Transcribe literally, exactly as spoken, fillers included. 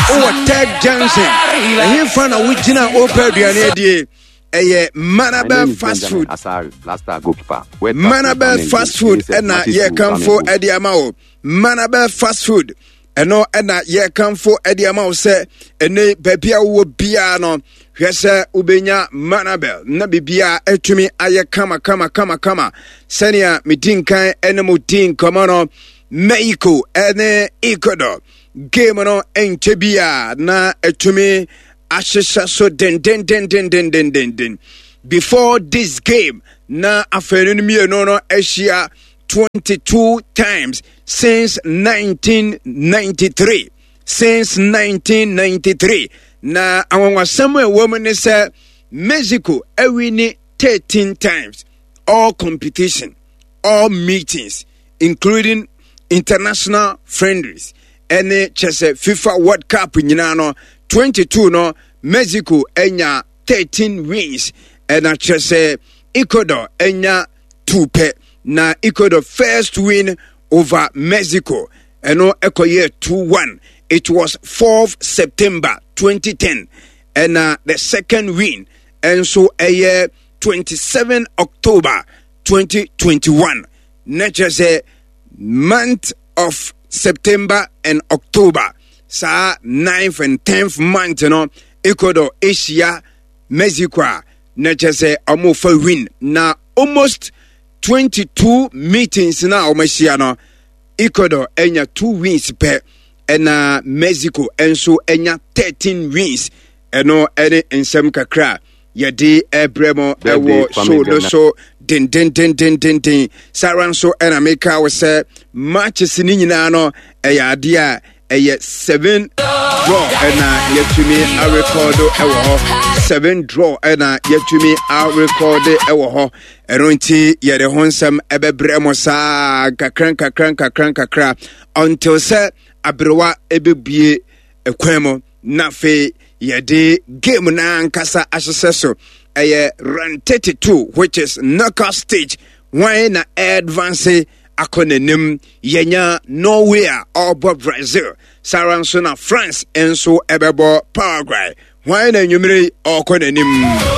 Wowɔ Tech Junction, ɛhefa na wogyina wopɛ aduane adie? Ɛyɛ Manabel Fast Food. Manabel Fast Food ɛna yɛkamfo ɛde ama wo. Manabel Fast Food ɛno ɛna yɛkamfo ɛde ama wo sɛ ɛne baabi a wowɔ biara no, hwɛ sɛ wobɛnya Manabel na biribiara atumi ayɛ kama kama kama kama. Sɛnea medi nkan ɛne mo di nkɔmmɔ no, Mexico ɛne Ecuador game no nkyɛ bi a na atumi ahyehyɛ so dendendendendendenden. Before this game na afei no mmienu no ahyia twenty-two times since nineteen ninety-three, since nineteen ninety-three. Na anwanwasɛm a ɛwɔ mu ne sɛ Mexico awin thirteen times, all competition, all meetings, including international friendlies ɛne kyɛ sɛ FIFA World Cup nyinaa no, twenty-two no Mexico anya thirteen wins, ɛna kyerɛ sɛ Ecuador anya two pɛ. Na Ecuador first win over Mexico ɛno ɛkɔyɛ two one. It was fourth September twenty ten. Ɛna the second win ɛnso ɛyɛ twenty-seven October twenty twenty-one. Na kyerɛ sɛ month of September and October, saa ninth and tenth month no, Ecuador ahyia Mexico a na kyerɛ sɛ ɔmofa win. Na almost twenty-two meetings na ɔmo ahyia no, Ecuador anya two wins pɛ, ɛna Mexico nso anya thirteen wins. Ɛno ɛne nsɛm kakra a yɛde ɛbrɛ mo ɛwɔ show no so dendendendendenden. Saa ara nso ɛna meka wo sɛ matches ne nyinaa no ɛyɛ adeɛ a ɛyɛ seven draw ɛna yɛtumi arecord ɛwɔ hɔ, seven draw ɛna yɛtumi arecord ɛwɔ hɔ. Ɛno nti yɛde ho nsɛm ɛbɛbrɛ mo saa nkakra nkakra nkakra nkakra until sɛ aberewa ɛbɛbue ɛkwan mu na afei yɛde game no ankasa ahyehyɛ so. Ɛyɛ round thirty-two, which is knockout stage. Wɔn na advance akɔ n'anim? Yɛnya Norway a ɔrebɔ Brazil, saa ara nso na France nso ɛbɛbɔ Paraguay. Wɔn na nnwumire ɔrekɔ n'anim?